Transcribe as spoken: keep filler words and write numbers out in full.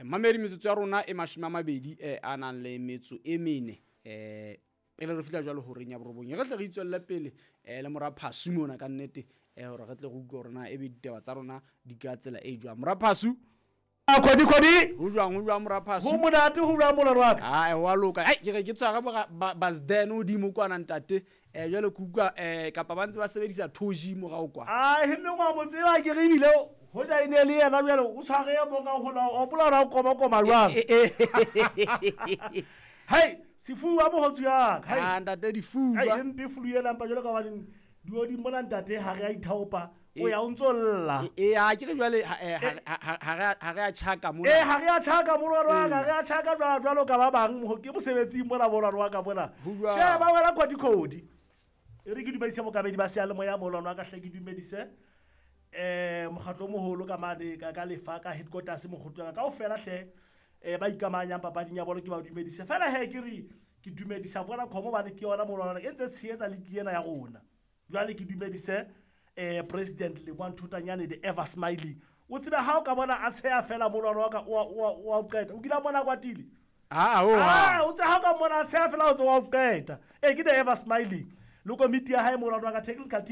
Mamedi, metsotso ya rona e mashome a mabedi eh, a nang le metso e mene eh pele re fihla jwalo horeng ya borobong. E re tle re itswelle pele eh le mora Phasu mona ka nnete, eh hore re tle re utlwe hore na ebe ditaba tsa rona di ka tsela e jwang. Mora Phasu, kgodi kgodi. Ho jwang, ho jwang, mora Phasu? Ho monate, ho jwang, molwano wa ka? Ai, wa loka. Ai, ke re ke tshwara ba Basden hodimo kwana, ntate. Eh jwale ke utlwa eh kapa ba ntse ba sebedisa two G morao kwa. Ai, mme ngwa mo tseba ke re ebile hoja e ne le yena jwale o tshware e mong ka hola o hopola hore o koma koma jwang. Hei, sefuba mogotsi ya ka. Ah, ntate, difuba. Ai, empe flu ena, mpa jwalo ka hobane dioding mona, ntate, ha re a ithaopa, o ya o ntso lla. E a ke re jwale ha ha ha re a tjhaka mona. Ee, ha re a tjhaka, molwano wa ka, re a tjhaka jwalo jwalo ka ba bang, ke mosebetsing mona, molwano wa ka mona. Sheba wena, kgodi kgodi, e re ke dumedise bokabedi ba seyalemoya, molwano wa ka hle, ke dumedise um mokgatlo o moholo ka mane ka ka lefa ka headquarters, mokgotlo wa ka kaofela hle, um ba ikamanyang papading ya bolo, ke ba dumedise fela. He, ke re ke dumedisa Vodacom hobane ke yona, molwano, e ntse tshehetsa league ena ya rona. Jwale ke dumedise um President Leboang Thotanyane, the ever smiling. O tsebe ha o ka bona a tsheha fela, molwano wa ka, o a qeta. O kile a mona a kwatile? Ah, o Ah, o tse ha o ka mona a tsheha fela, o tse wa o qeta. Ee, ke the ever smiling le komiti ya hae, molwano wa ka, technical team.